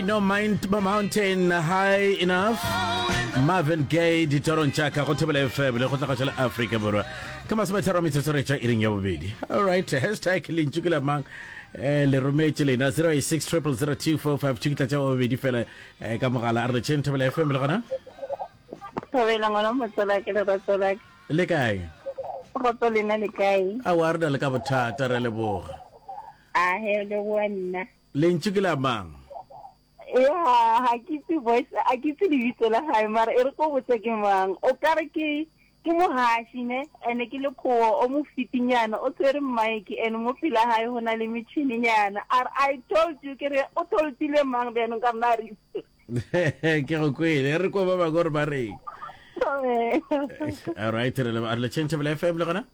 Ain't no mind, mountain high enough. Marvin Gaye ditorong tša ka go Thobela FM le go tla tša la Afrika Borwa. Ka masometharo a metsotso re tšwa iring ya bobedi. All right, hashtag lentšu ke la mang? Eh, le rometše lena 086 0002452 ke tla tša bobedi fela eh, ka mogala a re letšeng Thobela FM le gona. Thobela ngwana motswala ke lerato la ka. Le kae? Kgotso lena le kae? Aowa re na le ka bothata re leboga. A he leboga nna. Lentšu ke la mang? Ya, ga ke itse voice, a ke itse lebitso la gae mara e re ko botse ke mang. O ka re ke ke mogaši ne, ene ke lekgowa o mo fitinyana, o tshwere mic ene mo pela gae go na le metšhininyana. A re I told you ke re o toldile mang bjanong ka rena re Ke go kwele, re kwa ba bangwe gore ba reng. All right, re le re le change FM le gona?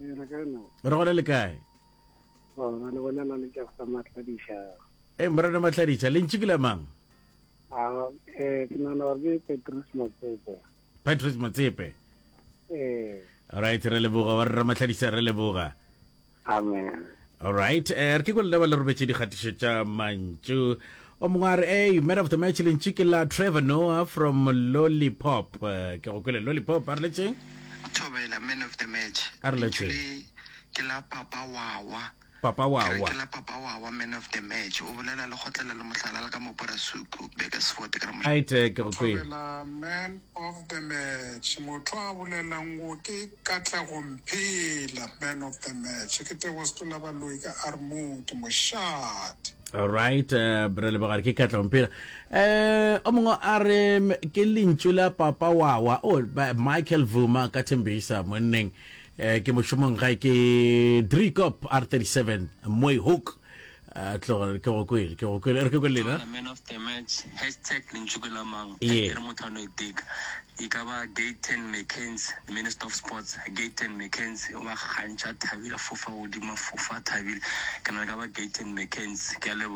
Re gona le kae? Gona le bolela le Jafta Matladiša. E morena Matladiša, lentšu ke la mang? A eh ke nana gore ke Petrus Motsepe. Petrus Motsepe. Eh. All right, re leboga wa rra Matladiša re leboga. Amen. All right, eh re ke go leba le robetše dikgatišo tša mantšu. O mongwe a re, hey, man of the match lentšu ke la Trevor Noah from Lollipop. Eh, Ke go kwele Lollipop, a re letšeng? Thobela, man of the match. A re Lentšu letšeng. le ke la Papa Wawa. Papa Ke re Wawa. ke la Papa Wawa, man of the match. O bolela le kgotlela le mohlala le ka mo Porasuku, Burgersfort ke re moš. Right, eh, ke go kwele. Thobela, man of the match. Motho a bolelang go ke Katlego Mphela, man of the match. Ke Tebogo Setola Baloi ka Armood, mošate. Alright, uh, re leboga re ke Katlego Mphela. Eh, o mongwe a re ke lentšu la Papa Wawa, oh, Michael Vuma ka Thembisa monneng. Eh, ke mošomong gae ke Driekop R37 Mooihoek. Eh, tloga ke go kwele, ke go kwele, re ke kwele lena. Thobela man of the match, hashtag lentšu ke la mang, Yeah. e re motho a no iteka. E ka ba Gayton McKenzie, the minister of sports, Gayton McKenzie, o ba kgantšha a thabile, a fofa godimo, a fofa a thabile. Ke nagana e ka ba Gayton McKenzie. Ke a leboga.